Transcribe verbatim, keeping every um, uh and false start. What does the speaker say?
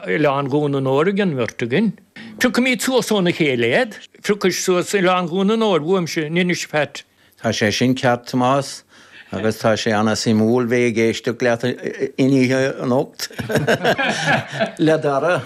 Oileán Dhún an Óir an bheirt againn. Phiocaimid suas óna chéile iad, phiocais suas Oileán Dhún an Óir uaimse in Inis Phat. Tá sé sin ceart Tomás agus tá sé an-suimiúil bheith ag éisteacht leat in oíche anocht le Dara.